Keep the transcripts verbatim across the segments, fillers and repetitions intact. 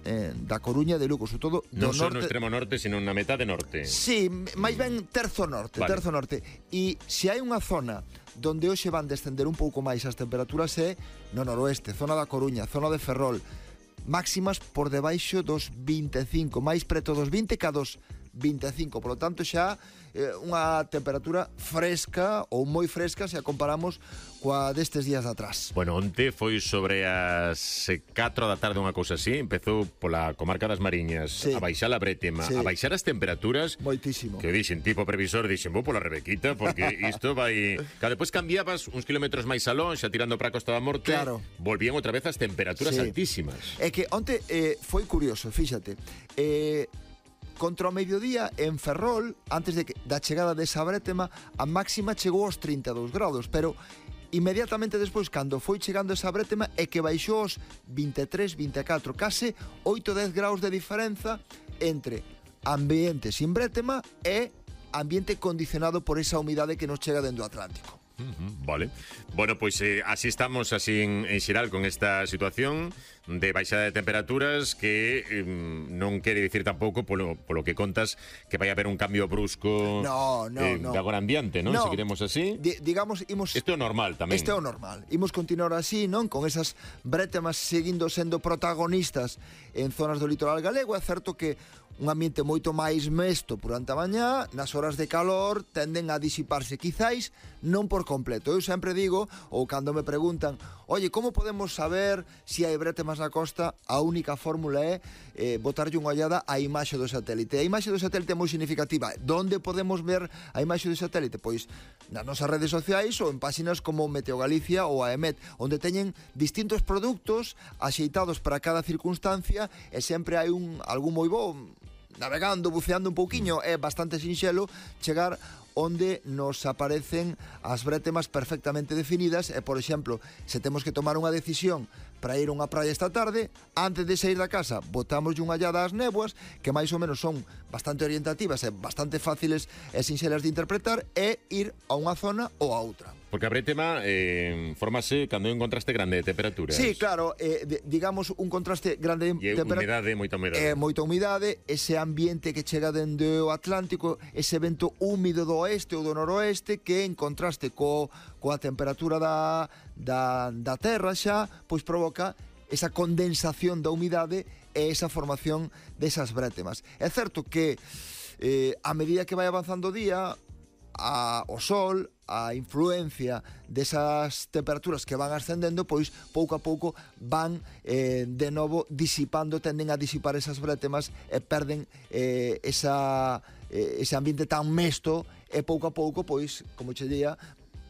eh, da Coruña de Lugo, sobre todo do non só norte... no extremo norte, sino na metade norte. Sí, máis ben terzo norte, vale. terzo norte. E se hai unha zona donde hoxe van descender un pouco máis as temperaturas é no noroeste, zona da Coruña, zona de Ferrol, máximas por debaixo dos vinte e cinco, máis preto dos vinte ca dos vinte e cinco, polo tanto xa eh, unha temperatura fresca ou moi fresca se a comparamos coa destes días de atrás. Bueno, onte foi sobre as catro da tarde, unha cousa así, empezou pola comarca das Mariñas, sí. a baixar a brétema, sí. a baixar as temperaturas. Moitísimo. Que dixen, tipo previsor, dixen, vou pola Rebequita, porque isto vai... Claro, depois cambiabas uns kilómetros máis alón, xa tirando para a Costa da Morte, claro. volvían outra vez as temperaturas sí. altísimas. É que onte eh, foi curioso, fíxate, eh... contra o mediodía en Ferrol, antes de que, da chegada desa brétema, a máxima chegou aos trinta e dous grados, pero inmediatamente despois, cando foi chegando esa brétema, é que baixou aos vinte e tres, vinte e catro, case oito a dez graus de diferenza entre ambiente sin brétema e ambiente condicionado por esa humidade que nos chega dentro do Atlántico. Uh-huh, vale. Bueno, pois pues, eh, así estamos así en, en xeral con esta situación de baixada de temperaturas que eh, non quere dicir tampouco polo, polo que contas que vai haber un cambio brusco no, no, eh, no. de agora ambiente, non? No. Seguiremos así. Di, digamos, imos... Isto é normal tamén. Isto é o normal. Imos continuar así, non? Con esas brétemas seguindo sendo protagonistas en zonas do litoral galego. É certo que un ambiente moito máis mesto durante a mañá, nas horas de calor tenden a disiparse, quizáis non por completo. Eu sempre digo, ou cando me preguntan, oye, como podemos saber se hai brétemas na costa? A única fórmula é eh, botarlle unha ollada á imaxe do satélite. A imaxe do satélite é moi significativa. Donde podemos ver a imaxe do satélite? Pois nas nosas redes sociais ou en páxinas como Meteo Galicia ou a EMET, onde teñen distintos produtos axeitados para cada circunstancia e sempre hai un algún moi bo navegando, buceando un pouquiño, é bastante sinxelo chegar onde nos aparecen as brétemas perfectamente definidas e, por exemplo, se temos que tomar unha decisión para ir a unha praia esta tarde, antes de sair da casa, botamos unha ollada ás néboas, que máis ou menos son bastante orientativas e bastante fáciles e sinxelas de interpretar, e ir a unha zona ou a outra. Porque a brétema eh, formase cando hai un contraste grande de temperaturas. Sí, claro, eh, de, digamos un contraste grande de temperaturas. E humidade, moita humidade. Eh, moita humidade, ese ambiente que chega dende o Atlántico, ese vento húmido do oeste ou do noroeste, que en contraste co, coa temperatura da, da, da terra xa, pois provoca esa condensación da humidade e esa formación desas brétemas. É certo que eh, a medida que vai avanzando o día, a, o sol, a influencia desas temperaturas que van ascendendo, pois pouco a pouco van eh, de novo disipando, tenden a disipar esas brétemas e perden eh, esa, eh, ese ambiente tan mesto e pouco a pouco, pois, como che día,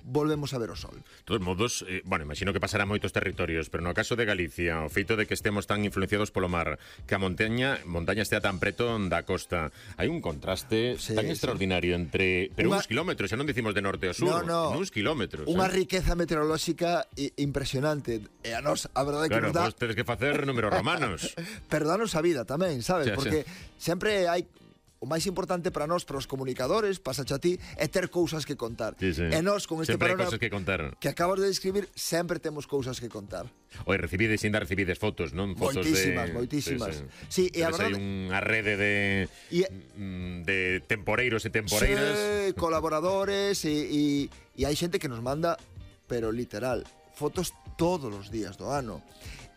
volvemos a ver o sol. De todos modos, eh, bueno, imagino que pasará moitos territorios, pero no caso de Galicia, o feito de que estemos tan influenciados polo mar, que a montaña, montaña estea tan preto da costa, hai un contraste sí, tan sí. extraordinario entre, pero Una... uns kilómetros, xa non dicimos de norte ao sur, no, no. uns kilómetros. Unha eh? riqueza meteorolóxica impresionante. E a nos, a verdade claro, que nos dá... vos tedes que facer números romanos. Perdanos a vida tamén, sabes? Xa, Porque xa. sempre hai... O máis importante para nós, para os comunicadores, pasa a ti, é ter cousas que contar. Sí, sí. E nós, con este sempre panorama hai cousas que contar. Que acabas de describir, sempre temos cousas que contar. Oi, recibides, ainda recibides fotos, non? Fotos moitísimas, de... moitísimas. Sí, sí. Sí, e a verdade... hai unha rede de, e... de temporeiros e temporeiras. Sí, colaboradores, e, e, e hai xente que nos manda, pero literal, fotos todos os días do ano.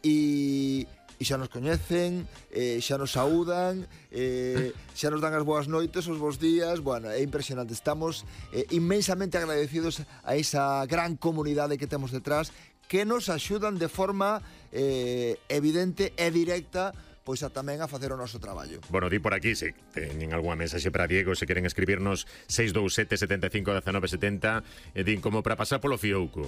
E... e xa nos coñecen, eh, xa nos saúdan, eh, xa nos dan as boas noites, os bons días. Bueno, é impresionante. Estamos eh, inmensamente agradecidos a esa gran comunidade que temos detrás, que nos axudan de forma eh, evidente e directa pois a tamén a facer o noso traballo. Bueno, di por aquí, se teñen algunha mensaxe para Diego, se queren escribirnos seis dous sete, sete cinco, uno nove sete cero, e din como para pasar polo fiouco.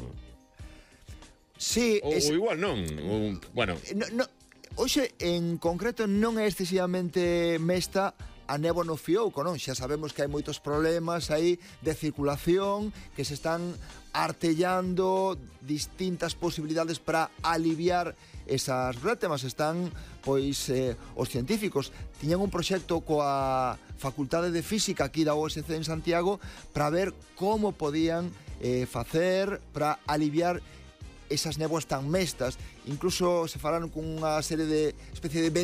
Sí, ou, es... ou igual non, ou, bueno... No, no, hoxe, en concreto, non é excesivamente mesta a néboa no fiouco, non? Xa sabemos que hai moitos problemas aí de circulación, que se están artellando distintas posibilidades para aliviar esas brétemas. Están, pois, eh, os científicos tiñan un proxecto coa Facultade de Física aquí da U S C en Santiago para ver como podían eh, facer para aliviar esas néboas tan mestas. Incluso se falaron con unha serie de especie de